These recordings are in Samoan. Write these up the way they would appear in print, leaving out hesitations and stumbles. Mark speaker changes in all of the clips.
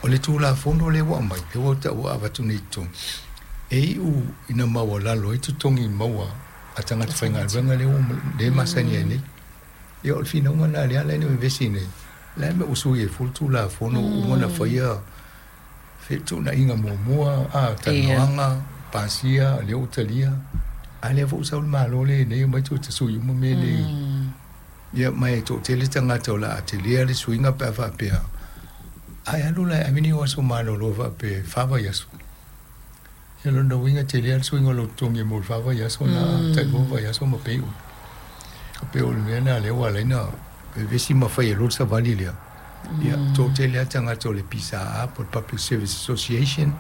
Speaker 1: O le Tulafono lea ua aumai, lea ua ua avatu nei i totonu, e iu ina maualalo ai totogi maua a tagata faigaluega lea ua lea e masani ai nei. Ia o le finauga lena lea la e vevesi nei, o le a le mea ua sui ai fua le Tulafono ua uma ona faia fetuunaiga muamua, a, talanoaga, pasia, lea ua talia, a lea foi ua sau le Malo lea nei omai toe tasui uma mea nei. Ia ma e toatele tagata o le a telea le suiga pe a faapea ae alu la e ave ni ou aso malolo faapea e fa vaiaso. Ia lona uiga e telea le suiga o lou totogi mo le fa vaiaso na tailua vaiaso ma pay uma. E pei o le mea lena lea ua ala ai ona vevesi ma fai ai loa le savali lea. Ia toatele lava tagata o le PSA po o le Public Service Association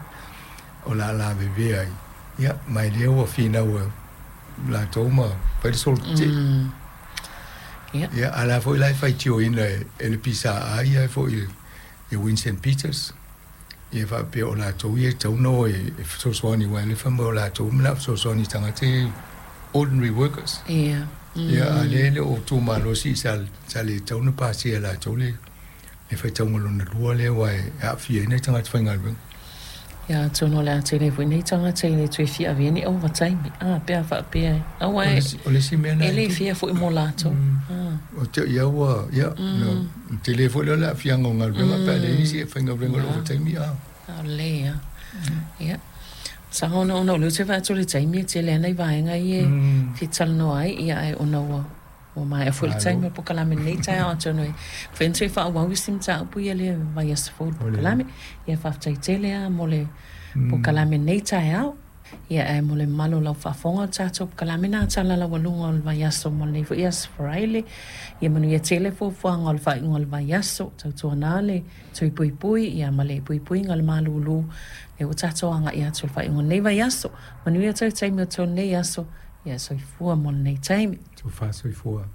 Speaker 1: o le a lavevea ai. Ia ma e lea ua finau latou ma fai le solo tetee.
Speaker 2: Ia.
Speaker 1: Ia, a o la foi la e faitioina e le PSA ia foi e Winston Peters, ia faapea o latou ia e tatau ona o e fesoasoani aua o lea e fai mai o latou e manao e fesoasoani i tagata ia ordinary workers.
Speaker 2: Ia.
Speaker 1: Ia, a o lea e le o tumalosi sa le tatau ona pasia e latou le faitauga lona lua lea aua e aafia ai nai tagata faigaluega.
Speaker 2: Ia atonu o le a tele ai foi nei tagata e le toe fia avea ni ovataimi, a, pe a faapea e, aua e,
Speaker 1: O le isi mea
Speaker 2: e le fair foi mo latou.
Speaker 1: O te ia ua, ia, no, tele foi lea o le aafiaga o galuega pe a leai nisi e faigaluega i le ovataimi, a.
Speaker 2: Lelei lava. Ia, masalo ona o lea ou te vaai atu i le taimi e tele lava nai vaega ia e fia talanoa ai, ia ae ona ua Ua maea foi le taimi o le polokalame i lenei taeao atonu e mafai ona toe faaauau isi mataupu ia i le vaiaso fou i le polokalame. Ia faafetai tele lava mo le polokalame i lenei taeao. Ia ae mo le mamalu o lau faafofoga o le tatou polokalame na tala laualuga o le vaiaso mo lenei foi aso Faraile. Ia manuia tele fuafuaga o le faaiuga o le vaiaso. Tautuana le tui puipui ia ma le puipuiga o le malulu lea ua tatou agai atu i le faaiuga o lenei vaiaso. Manuia toe taimi o tolu nei aso. Ia soifua mo lenei taimi.
Speaker 1: Tofa soifua.